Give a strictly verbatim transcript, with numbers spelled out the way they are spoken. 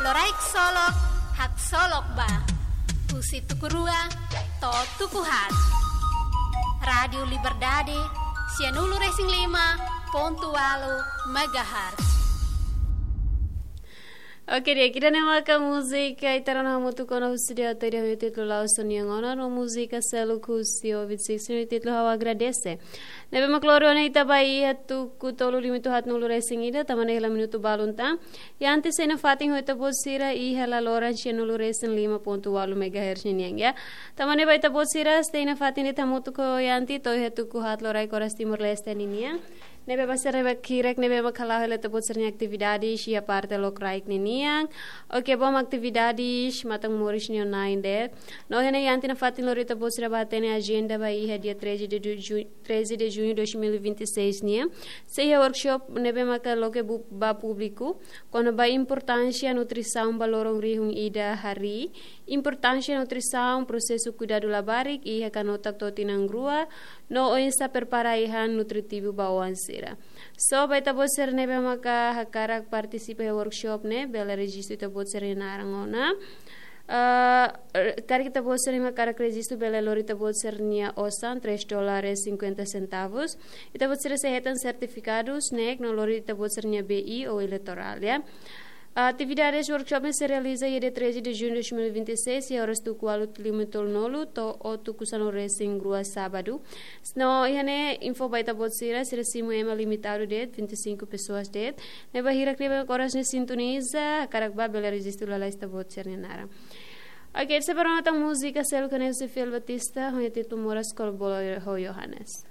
Loraik Solok, Haksolok Ba. Husi tuku rua to'o tuku haat. Rádiu Liberdade, sianulu-resin-lima pontu ualu megahertz. Oke, di'ak, ida-ne'e maka múzika ita rona hamutuk ona husi dia tadi, ho títulu La'ós Ó-nia Ona, no múzika seluk husi Ovid Sixteen, ho títulu Ha'u Agradese. Ne'ebé mak lori ona ita ba iha tuku tolu limitu haatnulu-resin-ida, tanba ne'e hela minutu balun tan. Iha antes sei nafatin ho ita-boot sira iha laloran sianulu-resin-lima pontu ualu megahertz ninian, ya. Tanba ne'e ba ita-boot sira sei nafatin de'it hamutuk ho Yanti to'o iha tuku haat loraik oras Timor-Leste ninian. Ne'ebé ba sira ne'ebé hirak ne'ebé mak hala'o hela ita-boot sira-nia atividades iha parte lokraik ninian. Oke, bom, atividades matan moris nia nain de'it. No iha ne'e Yanti nafatin lori ita-boot sira ba hatene ajenda ba iha dia treze de ju-, treze de junho de dois mil e vinte e seis nian. Sei iha workshop ne'ebé maka loke bu-, ba públiku kona-ba importánsia nutrisaun ba loron rihun ida harii, importánsia nutrisaun, prosesu kuidadu labarik iha kanotak to'o tinan rua, no oinsá prepara ai-han nutritivu ba oan sira. So, ba ita-boot sira ne'ebé maka hakarak partisipa iha workshop ne'e, bele rejistu ita-boot sira-nia naran ona. Ah, karik ita-boot sira ne'ebé hakarak rejistu bele lori ita-boot sira-nia osan, três dólares cinquenta centavos. Ita-boot sira sei hetan sertifikadu, snack, no lori ita-boot sira-nia B I ou eleitorál, ya. Atividades workshop ne'e sei realiza iha dia treze de junho de dois mil e vinte e seis, iha oras tuku ualu lima tolunulu to'o tuku sanulu-resin-rua sábadu. No iha ne'e info ba ita-boot sira, sira simu ema limitadu de'it, vinte e cinco pessoas de'it. Ne'ebé hirak ne'ebé oras ne'e sintoniza, hakarak ba bele rejistu lalais ita-boot sira-nia naran. Oke, ita sei ba rona tan múzika seluk ne'e husi Fiel Batista, ho títulu Moras Kol-Bolo ho Yohanes.